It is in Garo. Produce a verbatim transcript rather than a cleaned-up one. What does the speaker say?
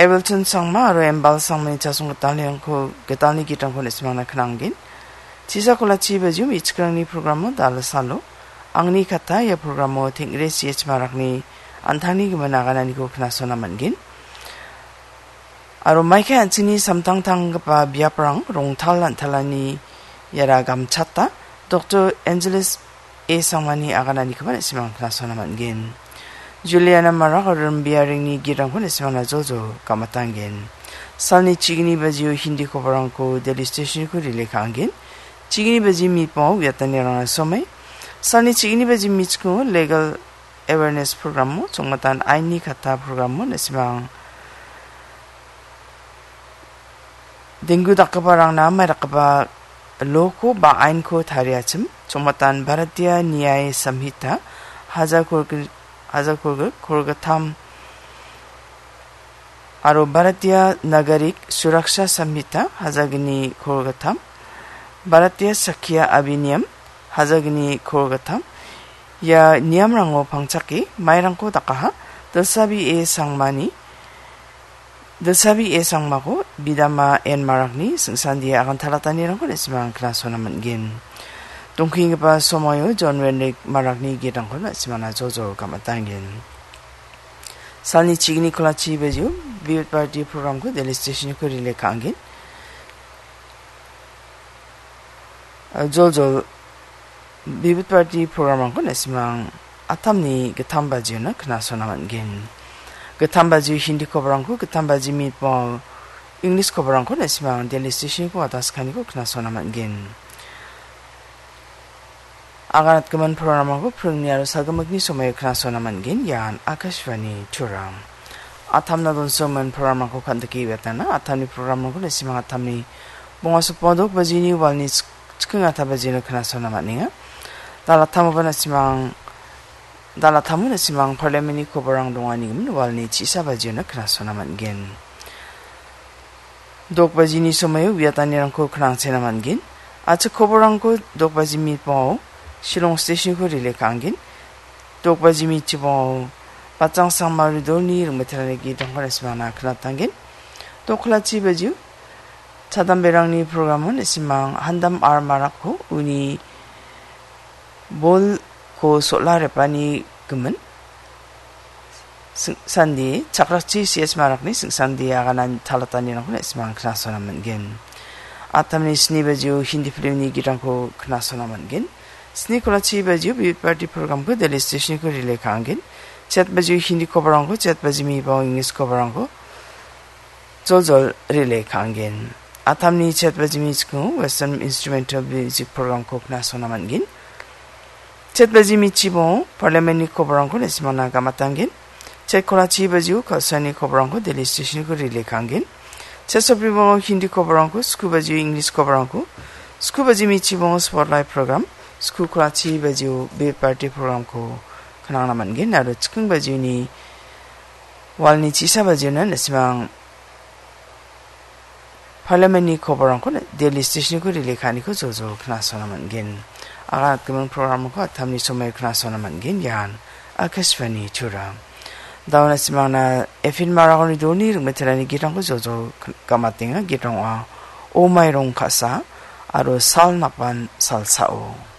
Evelton Sangma aro Embal Sangmani chasong gitalnirangko, gitalni gitrangko na·simangna knanggen. Chisa kolachi bajio me·chikrangni programo dal·salo. Angni kata ia programo Tengre C H Marakni an·tangni gimin agananiko knasona man·gen. Aro maike an·chingni samtangtanggipa biaprang rongtal an·talani iara gamchata, Doktor Angeles A Sangmani agananikoba na·simang knasona man·gen. Juliana Marak aro Rimbiaringni gitrangko na·simangna joljol gamatanggen. Salni chigni bajio Hindi koborangko Delhi Stationko relay ka·angen. Chigni baji mitbango uiatanirangna somai. Salni chigni baji mitchikingo legal awareness programo, chongmatan aini kata programo na·simang denggu dakgiparangna maidakgipa loko ba ainko tariachim, chongmatan Bharatiya Nyaya Samhita, hajar kolgri-, hajar kolgri-, kolgittam, aro Bharatiya Nagarik Suraksha Samhita, hajar gni kolgittam, Bharatiya Sakya Abhiniyam, hajar gni kolgittam, ia niyamrango pangchake mairangko dakaha, Dilsabi A Sangmani, Dilsabi A Sangmako bidama N Marakni singsandia agan talatanirangko na·simang knasona man·gen. Dongkenggipa somoio John Wenrik Marakni gitrangko na·simangna joljol gamatanggen. Salni chigni kolachi bajio Vivid Bharati programko Delhi Stationko relay ka·angen. Joljol Vivid Bharati programrangko na·simang atamni gittam bajiona knasona man·gen. Gittam bajio Hindi koborangko, gittam baji mitbango English koborangko na·simang Delhi Stationko ataskaniko knasona man·gen. Aganatgimin programrangko pringni aro salgimikni somoio knasona man·gen. Ian Akashvani Turam. Atamna donsogimin programrangko kandike uiatana, atamni programrangko na·simang atamni bonga sopodok bajini walni chik-, chiking ata bajino knasona man·enga. Dalathamoba na·simang, dalathamo na·simang parliamentni koborang dongani gimin walni chisa bajino knasona man·gen. Dok bajini somoio uiatanirangko knangchena man·gen. Achik koborangko dok baji mitbango Shillong Stationko relay ka·angen. Dok baji mitchibango Batjang Sangma Ridolni ringmeterani gitrangko na·simangna knatanggen. Dok kolachi bajio chadamberangni programo na·simang Handam R Marakko uni bolko sola repani gimin sing-, sandi, chakrakchi C H Marakni singsandia aganan talatanirangko na·simang knasona man·gen. Atamni sni bajio Hindi filmni gitrangko knasona man·gen. Sni kolachi bajio Vivid Bharati programko Delhi Stationko relay ka·angen. Chet bajio Hindi koborangko, chet baji mitbango English koborangko joljol relay ka·angen. Atamni chet baji mitchikingo Western Instrumental Music programko knasona man·gen. Chet baji mitchibango parliamentni koborangko na·simangna gamatanggen. Chet kolachi bajio Kalsani koborangko Delhi Stationko relay ka·angen. Chet sobribango Hindi koborangko, sku bajio English koborangko, sku baji mitchibango Spotlight program, sku kolachi bajio Vivid Bharati programko knangna man·gen aro chiking bajioni walni chisa bajiona na·simang parliamentni koborangko Delhi Stationko relay ka·aniko joljol knasona man·gen. Aganatgimin programrangko atamni somoio knasona man·gen. Ian Akashvani Turam. Dauna simangna Efin Maragoni doni ringmeterani gitrangko joljol k-, gamatenga. Gitrang ong·a O Mairong Ka·sa aro Sal Napban Salsao.